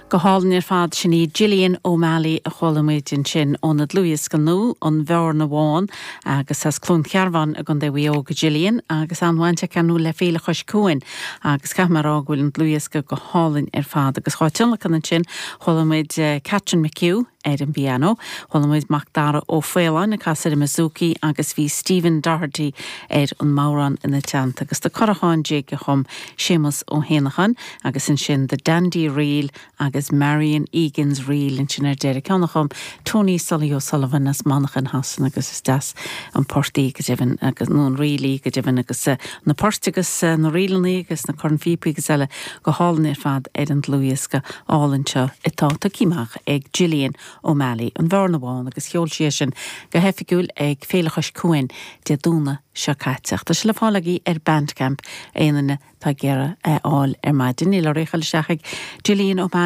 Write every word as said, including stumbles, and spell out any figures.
Go hálainn ar fad sin í Gillian O'Malley a chuala muid ansin óna dlúthdhiosca nua an Bhearna Bhán agus as Cluain Cearbán i gContae Mhaigh Eo Gillian agus an-bhaint aici nó le Féile Chois Cuain agus caithfidh mé a rá go bhfuil an dlúthdhiosca go hálainn ar fad agus dhá tionlacan ansin chuala muid eh, Catherine McHugh ar an bpianó, Chuala muid Macdara Ó Faoláin ag casadh ar an bouzouki agus bhí Stephen Doherty ar an mbodhrán ina teannta agus The Currachán Jig a chum Séamus Ó hÉanacháin agus ansin The Dandy Reel agus Marion Egan's Reel ansin ar deireadh ceann a chum Tony Sully O'Sullivan as Manchain Shasana agus is deas an port í go deimhin agus nó an ríl í go deimhin agus eh, na poirt agus eh, na ríleanna agus na cornphíopaí agus eile go hálainn ar fad ar an dlúthdhiosca álainn seo atá tugtha amach ag Gillian O'Malley an Bhearna Bhán agus sheol sí sin go hoifigiúil ag Féile Chois Cuain Dé Domhnaigh seo caite. Tá sé le fáil agaibh ar Bandcamp aon duine atá ag iarraidh é a fháil ar maidin, níl oraibh ach dul isteach ag Gillian O'Malley.